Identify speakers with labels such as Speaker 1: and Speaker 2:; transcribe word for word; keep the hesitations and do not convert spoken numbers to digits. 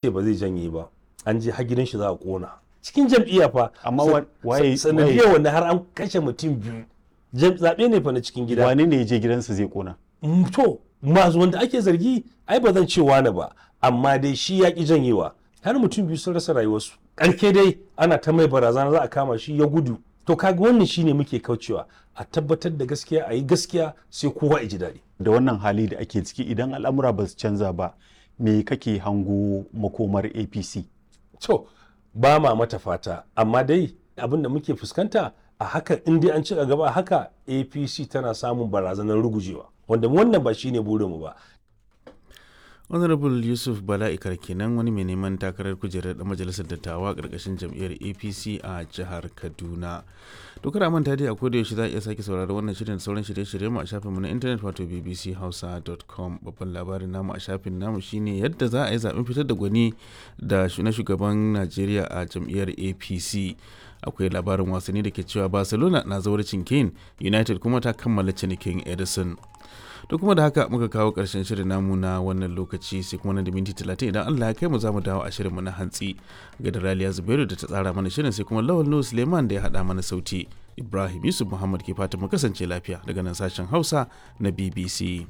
Speaker 1: Ce ba zai janye ba, an je har gidan shi za a kona cikin jam'iyya fa.
Speaker 2: Amma wa- waye
Speaker 1: sanadiyar wanda har an kashe mutum biyu. Jam- zaɓe ne fa na cikin gida.
Speaker 2: Wane ne ya je gidansa zai kona?
Speaker 1: Mm, to masu wanda ake zargi, ai ba zan ce wani ba, amma dai shi ya ki janyewa, har mutum biyu sun rasa rayuwarsu. Ƙarke dai ana ta mai barazana za a kama shi, ya gudu. To kaga wannan shine muke kaucewa, a tabbatar da gaskiya, a yi gaskiya, sai kowa ya ji daɗi.
Speaker 2: Da wannan hali da ake ciki, idan al'amura ba su canza ba, me kake hango makomar A P C?
Speaker 1: To, ba ma mata fata, amma dai abin da muke fuskanta a haka, in dai an ci gaba a haka, A P C tana samun barazanar rugujewa, wanda wannan ba shine burinmu ba.
Speaker 3: Honorable Yusuf Bala Ikar kenan, wani mai neman takarar kujerar dan majalisar dattawa karkashin jam'iyyar A P C a jihar Kaduna. To kada a manta dai, a koda yaushe za a iya sake sauraron wannan shirin da sauran shirye-shiryen mu a shafinmu na intanet, wato B B C hausa dot com. Babban labarin namu a shafin namu shine yadda za a yi zaben fitar da gwani da na shugaban Najeriya a jam'iyyar A P C. Akwai labarin wasanni da ke cewa Barcelona na zawarcin Kane, United kuma ta kammala cinikin Edison. To kuma da haka muka kawo ƙarshen shirin namu na wannan lokaci, sai kuma nan da minti talatin idan Allah ya kai mu za mu dawo a shirinmu na hantsi. Ga da Raliya Zubairu da ta tsara mana shirin, sai kuma Lawal Nuhu Suleiman da ya haɗa mana sauti. Ibrahim Yusuf Muhammad ke fatan mu kasance lafiya daga nan sashen Hausa na B B C.